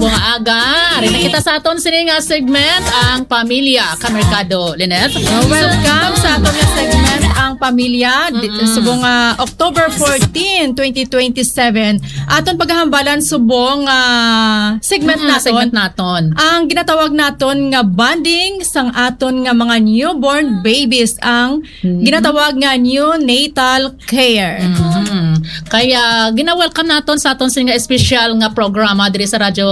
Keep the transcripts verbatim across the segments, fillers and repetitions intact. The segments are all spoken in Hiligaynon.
Mga aga, ari na kita sa aton sini nga segment, ang pamilya, kamerkado, Lynette. Oh, welcome sa aton nga segment, ang pamilya. Di- Mm-mm. Subong nga October fourteen, twenty twenty-seven, aton paghahambalan subong nga segment Mm, naton. Segment naton. Ang ginatawag naton nga bonding sang aton nga mga newborn babies, ang Mm. ginatawag nga neonatal care. Mhm. Kaya gina-welcome naton sa aton sini nga espesyal nga programa diri sa Radyo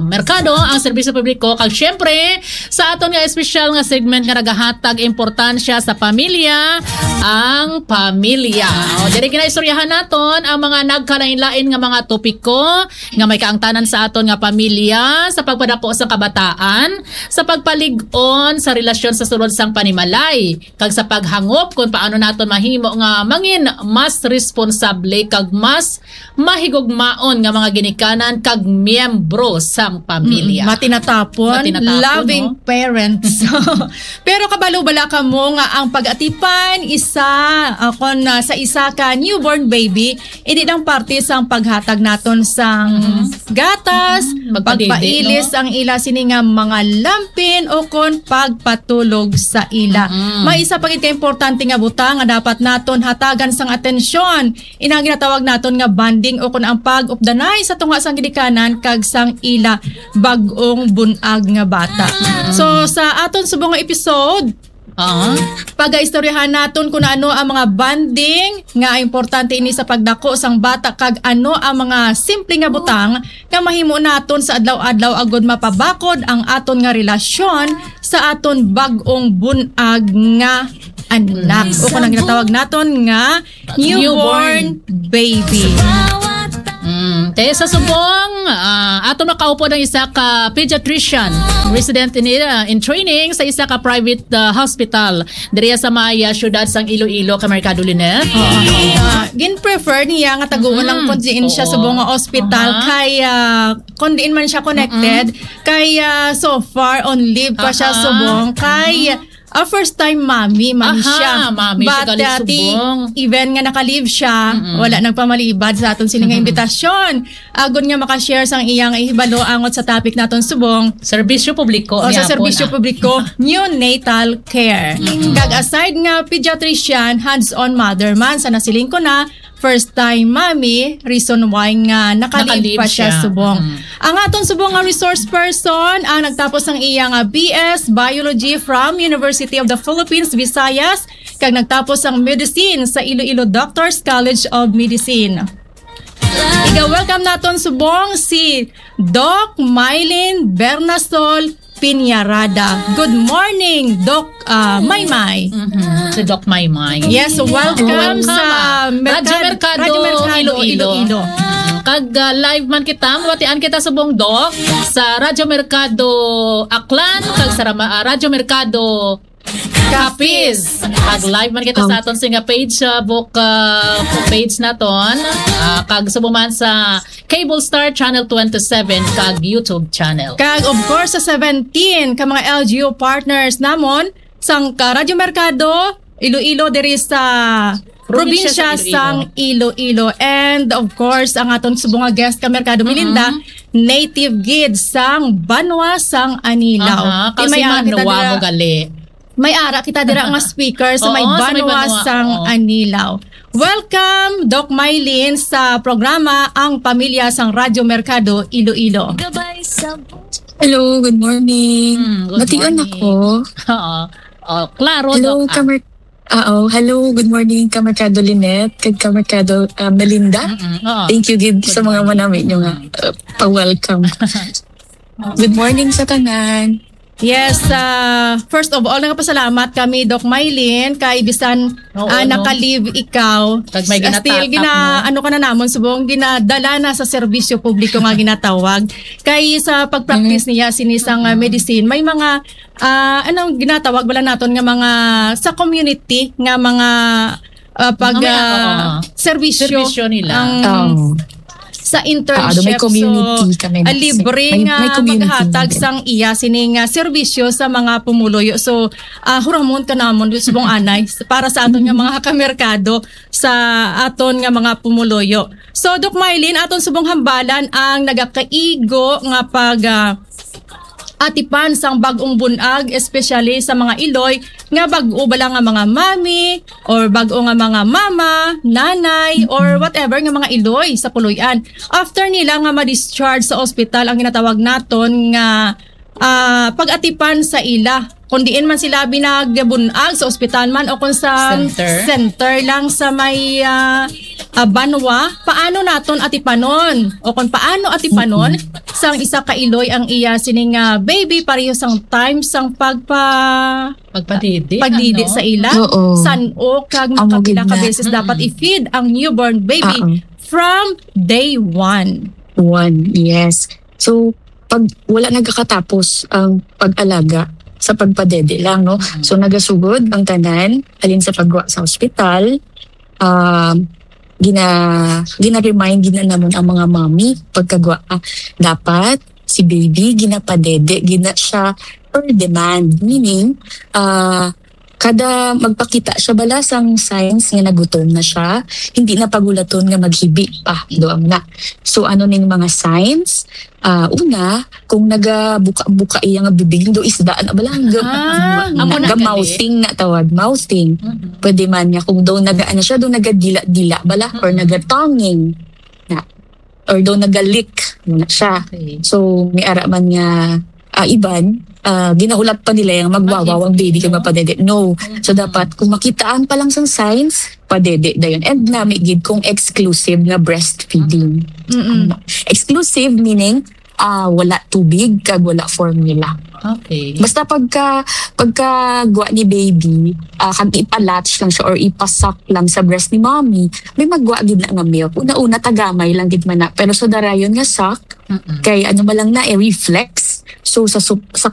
Merkado, ang serbisyo publiko, kag siyempre sa aton nga espesyal nga segment nga nagahatag importansya sa pamilya, ang pamilya. O, diri ginaistoryahan naton ang mga nagkalain-lain nga mga topiko nga may kaangtanan sa aton nga pamilya, sa pagpadako sa kabataan, sa pagpalig-on sa relasyon sa sulod sang panimalay, kag sa paghangop kon paano naton mahimo nga mangin mas responsable kag mas mahigugmaon nga mga ginikanan kag miyembro sang pamilya. Mm, matinatapon, Matinatapon, loving no? parents. Pero kabalo bala kamo nga ang pag-atipan isa, ah, kon, ah, sa isa ka newborn baby, hindi lang parte sang paghatag naton sang Mhm. gatas, Mm, pagpadidi, pagpailis no? ang ila sini nga mga lampin o kon pagpatulog sa ila. Mm. May isa pa gid ka importante nga butang nga dapat naton hatagan sang atensyon. Ina ang ginatawag naton nga bonding o kon ang pag-updanay sa tunga sang ginikanan kag sang ila bag-ong bun-ag nga bata. Mm. So, sa aton subong nga episode, Ah. pagaistoryahan naton kung ano ang mga bonding nga importante ini sa pagdako sang bata kag ano ang mga simple nga butang nga mahimo naton sa adlaw-adlaw agud mapabakod ang aton nga relasyon sa aton bag-ong bun-ag nga anak. Mm. O kung ang ginatawag naton nga newborn Newborn. baby. Mm. Te, sa subong, ah, aton makaupod ang isa ka pediatrician, resident in, ah, in training sa isa ka private, ah, hospital diri sa may, ah, siyudad sang Iloilo, kamerkado, Lynette. Oo. Ah, gin-prefer niya nga taguon lang Mm-mm. kung diin siya Oo. subong nga ospital Aha. kay, ah, kung diin man siya connected, Mm-mm. kay, ah, so far on leave pa siya Aha. subong kay Mm-mm. ah, first time mommy man Aha, siya. Mommy siya But, galing ah, ti-, subong. even nga naka-leave siya, Mm-mm. wala nagpamalibad sa aton sini nga Mm-mm. imbitasyon. Agod nga maka-share sang iya nga ihibalo angot sa topic naton subong. Serbisyo publiko O sa gihapon, serbisyo ah. publiko, neonatal care. Mm-mm. Kag aside nga pediatrician, hands-on mother man, sa nasiling ko na, first time mommy, reason why nga naka-leave Naka-leave pa siya siya. subong. Mm. Ang aton subong nga resource person, ang nagtapos sang iya nga B S Biology from University of the Philippines, Visayas, kag nagtapos sang medicine sa Iloilo Doctors College of Medicine. Iga-welcome naton subong si Doc Mylene Bernasol Piñarada. Good morning, Doc, ah, Maymay. Mhm. Si Doc Maymay. Yes, welcome Welcome, sa ah. Merkad-, Radyo Merkado, Radyo Merkado, Iloilo. Iloilo. Kag, ah, live man kita, mabatian kita subong, Doc, sa Radyo Merkado Aklan, kag sa Rama-, ah, Radyo Merkado Capiz. Capiz. Kag live man kita sa Oh. aton sini nga page, ah, book, ah, page naton. Ah, kag subong man sa Cable Star Channel twenty-seven kag YouTube channel. Kag, of course, sa seventeen ka mga L G U partners namon, sang ka Radyo Merkado, Iloilo, diri sa Probinsya probinsya sa sang Iloilo. And, of course, ang aton subong nga guest ka Merkado, Melinda, Mm-hmm. native gid sang Banwa sang Anilaw. Aha, Di may kasi ara kita Manwa dira. mo gali. May ara kita dira nga speaker sa may Oo, sa may Banwa Banwa, sang oo. Anilaw. Welcome, Doc Mylene, sa programa Ang Pamilya sang Radyo Merkado, Iloilo. Gabay sa Hello, good morning. Mm, good Mation morning. ako. Oo. Oh, klaro, Hello, Doc. Ah. kamer-, ah, oh, hello, good morning, Kamerkado Lynette, kag Kamerkado, ah, Melinda. Mm-mm. Oo. Thank you gid Good sa mga morning. manami nyo nga, Mm. uh, pa-welcome. Good morning sa tanan. Yes, ah, first of all, nagpasalamat kami, Doc Mylene, kay bisan, Oo, ah, no? naka-leave ikaw, Kag may ah, still ginatatap, gina-, no? ano ka na namon, subong ginadala na sa serbisyo publiko nga ginatawag. Kay sa pag-practice Mm. niya, sini sang, ah, Mm. medicine, may mga, ah, anong ginatawag bala naton nga mga sa community nga mga, ah, pag, Mga may, ah, oo. serbisyo Serbisyo nila. ang Oo. sa internship. Ah, may community kami na. So, ah, libre nga maghatag sang iya sining, ah, serbisyo sa mga pumuluyo. So, ah, huramon ka namon, subong anay, para sa aton nga mga kamerkado, sa aton nga mga pumuluyo. So, Doc Mylene, aton subong hambalan ang nagakaigo nga pag, ah, atipan sang bag-ong bunag, especially sa mga iloy nga bag-o bala nga mga mami or bag-o nga mga mama, nanay, or whatever nga mga iloy sa puloy-an. After nila nga ma-discharge sa ospital, ang ginatawag naton nga, ah, pag-atipan sa ila, kung diin man sila binag-, bunag, sa ospital man o kung sa center lang sa may, ah, ah, banwa, paano naton atipanon? O kung paano atipanon sang isa ka iloy ang iya sining, ah, baby pareho sang time sang pagpa-, pagpadidi, pagdidi sa ila? Oo. San-o kag makapila ka beses dapat i-feed ang newborn baby from day one? One, yes. So, pag wala nagakatapos ang pag-alaga sa pagpadede lang, no? So, nagasugod ang tanan, halin sa pagwa sa ospital, um, gina-, gina-remind gina namon ang mga mommy pagkagwa, ah, dapat si baby ginapadede gina siya per demand. Meaning, ah, kada magpakita siya bala sang signs nga nagutom na siya, hindi na pagulaton nga maghibi pa, do na. So, ano ning mga signs? Ah, una, kung nagabuka-buka iya nga bibig, do isda na bala, nga Ah, amo na gali. Mouthing na tawag, mouthing. Mm-mm. Pwede man niya kung do naga-, ano siya, do nagadila-dila bala, or Mm-mm. Nagatonguing na, or do nagalik na siya. Okay. So, may ara man nga, ah, iban, ah, ginahulat pa nila yung magwawaw ang baby kay mapadede. No. So, Mm-mm. Dapat kung makitaan pa lang sang signs, padede dayon. And nami gid kung exclusive nga breastfeeding. Mm-mm. Ano? Exclusive meaning, ah, wala tubig kag wala formula. Okay. Basta pagka, pagka gwa ni baby, ah, kag ipa-latch lang siya or ipasak lang sa breast ni mommy, may magwa gid na nga milk. Una-una, tagamay lang gid man na. Pero sa darayon nga sak, Mm-mm. Kay ano man lang na, eh, reflex. So, sa sup-, sa